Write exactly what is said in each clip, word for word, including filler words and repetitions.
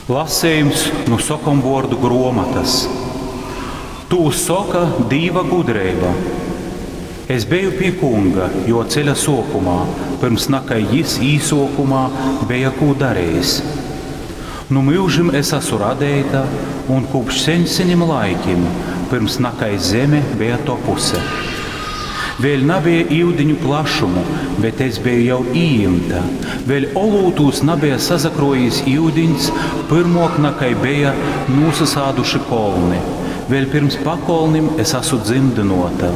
Lasejums nu sokomvuordu gruomotys. Tū soka Dīva gudreiba. Es beju pi Kunga juo ceļa suokumā, pyrms nakai jis īsuokumā beja kū darejis. Nu myužim es asu radeita, un kūpš seņ-senim laikim, pyrms nakai zeme beja topuse. Vēļ nabeja iudiņu plašumu, bet es beju jau ījimta. Vēļ olūtūs nabeja sasakruojīs iudiņs, pyrmuok nakai beja nūsasāduši kolni. Vēļ pyrms pakolnim es asu dzymdynuota.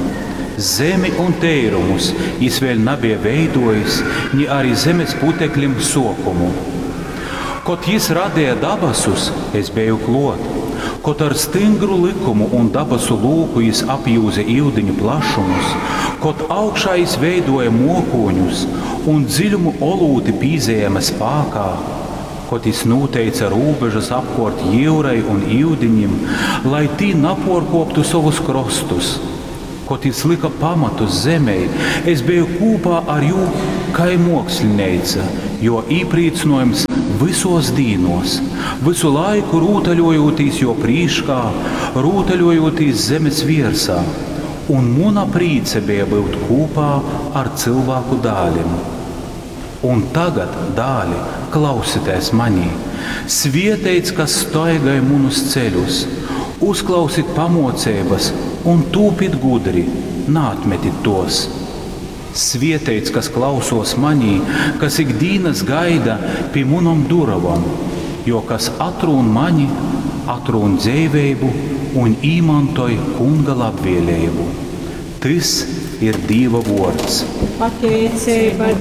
Zemi un teirumus jis vēļ nabeja veiduojis, ni ari zemes puteklim suokumu. Kod jis radeja dabasus, es beju kluot. Kod ar styngru lykumu un dabasu lūku jis apjūze iudiņu plašumus, kod augšā jis veiduoja muokūņus un dziļumu olūti pīzajēme spākā, kod jis nūteice rūbežas apkuort jyurai un iudiņim, lai tī napuorkuoptu sovus krostus, kod jis lyka pamatus zemei, es beju kūpā ar jū kai muokslineica, juo īprīcynuojums vysuos dīnuos, vysu laiku rūtaļojūtīs juo prīškā, rūtaļojūtīs zemes viersā, un muna prīca beja byut kūpā ar cylvāku dālim. Un tagad, dāli, klausitēs manī! Svieteits, kas staigoj munus ceļus, uzklausit pamuoceibys un tūpit gudri, naatmetit tuos! Svieteits, kas klausuos manī, kas ik dīnys gaida pi munom durovom, jo kas atrūn mani, atrūn dzeiveibu un īmantoj Kunga labvieleibu. Tys ir Dīva vuords. Pateiceiba